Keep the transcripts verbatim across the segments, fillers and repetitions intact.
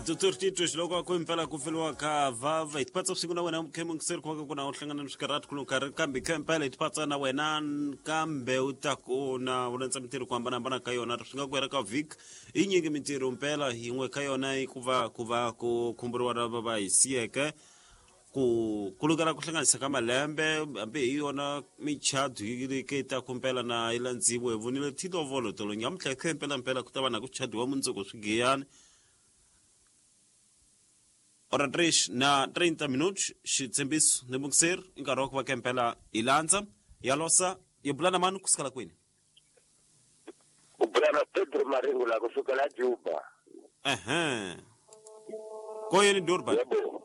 Doctor Tito xiloko ku impela ku feliwa ka vava hi tipatsa vusiku na wena mukhemungiseri ku va ka ku na u hlangana ni swikarhati ku karhi kambe kha impela hi tipatsa na wena kambe u ta ku na u landza mintirho ku hambanahambana ka yona swi nga ku hela ka vhiki i nyingi mintirho mpela yin'we ka yona i ku va ku va ku khumburiwa lava va hi siyeke ku kulukela ku hlanganisa ka malembe hambi hi yona michadu yi ri ke ta kumpela na yi landziwe hi vonile tilovolo tolo nyamuntlha khe mpela mpela ku ta va na ku chadiwa mundzuku swigiyani ora três na trinta minutos xitshembiso ni mukiseri i nkarhi wa ku va ke mpela hi landza ya losa yi bula na mani kusukela kwini u bula na Pedro Maringo la kusukela Juba. Ehe, ko yini Durban? Yebo.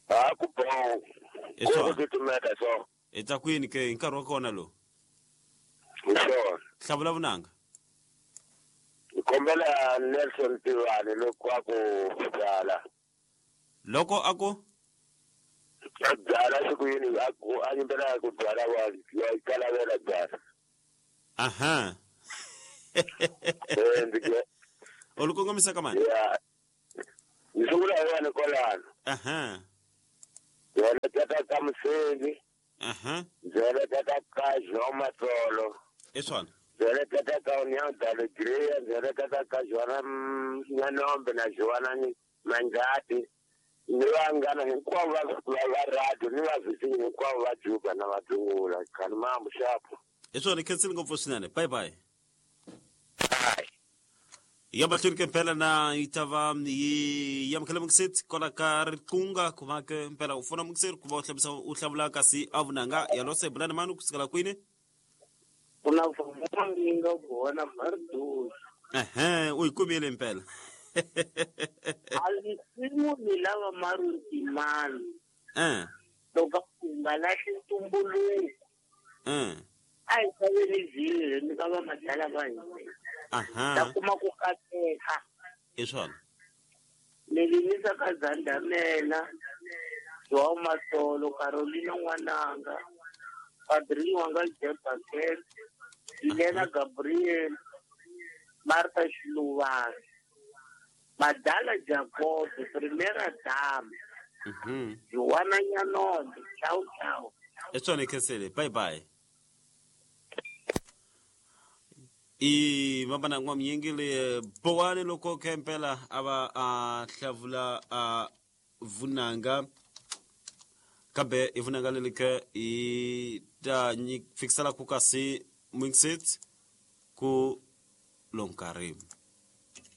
Ah, ku bon. Hi swona. Ku titimeta so. Hi ta kwini ke hi nkarhi wa kona lowu? Hi swona. Hlavula vunanga. Hi kombela Nelson Tivani loko a ku byala. Loko a ku a byala siku yini a ku a nyimbela ku byala wa ya kalavela byala. Aha. Eh, ndzi ke U li kongomisa ka mani? ya. Ndzi sungula hi wena kwalano. Aha. Ndzi heleketa ka Museli. Aha. Ndzi heleketa ka João Matsolo. Hi swona. Ndzi heleketa ka União da Alegria, ndzi heleketa ka Joana Nyanombe na Joana Manjati. Ni vanghana hinkwavo va va va radio ni vavhisinyi hinkwavo va Juba na Vadzungula khani mambu xapo. Hi swona khensile ngopfu swinene. Bye bye. Ya mahlweni ke mpela na yi ta va yi amukela mukiseti kwala ka riqunga ku va ke mpela u fona mukiseri ku va u hlamusa u hlamula kasi a vunanga ya losa hi bula na mani kusukela kwini? Ku na vunanga vona mardusi. Ehe, u yi kumile mpela. A nsimu ni lava maruntimani. Eh. Loko ku nga lahli ntumbuluko. Eh. A hi xaveni vhiri ni ka va madala va hina. Aha. Ta kuma ku kateka. Hi swona. Ni limisa ka Zandamela, João Matsolo, Carolina N'wananga, Padrinho wanga Jebakel, Helena Gabriel, Martha Xiluvani, Madala Jacob, Primera Dama, Mhm. Joana Nyanombe. Ciao ciao. Hi swona khensile. Bye bye. I vamana n'wamnyingi le bowani loko khe mpela a va a hlavula a vunanga kambe i vunanga leri ke hi ta fikisela ku kasi mixit ku lonkarhi.